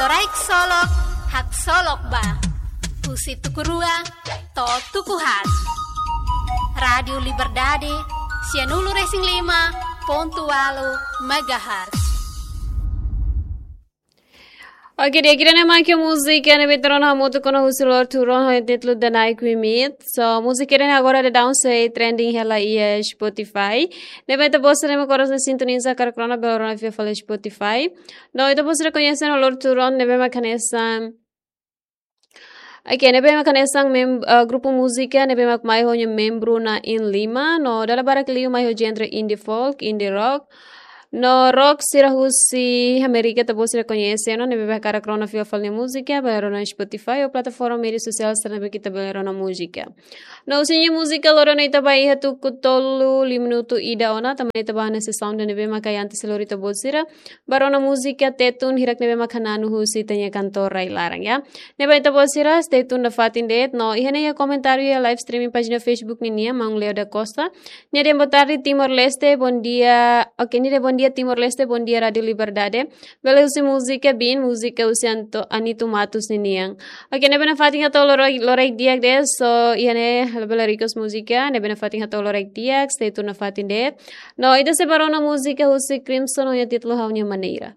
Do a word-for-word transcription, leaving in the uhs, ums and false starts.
Loraik Solok, Haksolok Ba. Husi tuku rua to'o tuku haat. Rádiu Liberdade, sianulu-resin-lima pontu ualu megahertz. Oke, di'ak, ida-ne'e mak múzika ne'ebé ita rona hamutuk ona husi Lorthuron ho títulu Danai Kuimit. So, múzika ida-ne'e agora daudaun sei trending hela iha Spotify. Ne'ebé ita-boot sira ne'ebé agora sei sintoniza hakarak rona, bele rona fila fali Spotify. No ita-boot sira koñese ona Lorthuron ne'ebé mak hanesan, oke, ne'ebé mak hanesan mem-, eh, grupu múzika ne'ebé mak mai ho nia membru na'in-lima, no dala barak liu mai ho genre indie folk, indie rock, no rock sira husi Amérika, ita-boot sira koñese ona, ne'ebé hakarak rona fila fali nia múzika, bele rona Spotify ou plataforma média sosiál sira ne'ebé ita bele rona múzika. No husi nia múzika loron ne'e ita ba iha tuku tolu, lima minutu ida ona, tanba ne'e ita ba iha sessão ida ne'ebé mak antes lori ita-boot sira ba rona múzika Tetun, hirak ne'ebé mak hananu husi ita-nia kantór rai-laran, ya. Ne'ebé ita-boot sira stay tune nafatin de'it, no iha ne'e iha komentáriu iha live streaming pájina Facebook ninian, Maun Leo da Costa. Nia dehan boa tarde Timor-Leste, bom dia. Oke, nia dehan bom dia Timor-Leste, bom dia Rádiu Liberdade. Bele husi múzika Bin, múzika husi Anto-, Anito Matos ninian. Oke, ne'ebé nafatin hato'o loraik, loraik di'ak de'it, so iha ne'e labele request múzika, ne'ebé nafatin hato'o loraik di'ak, stay tune nafatin de'it. No ita sei ba rona múzika husi Crimson ho nia títulu Ha'u-nia Maneira.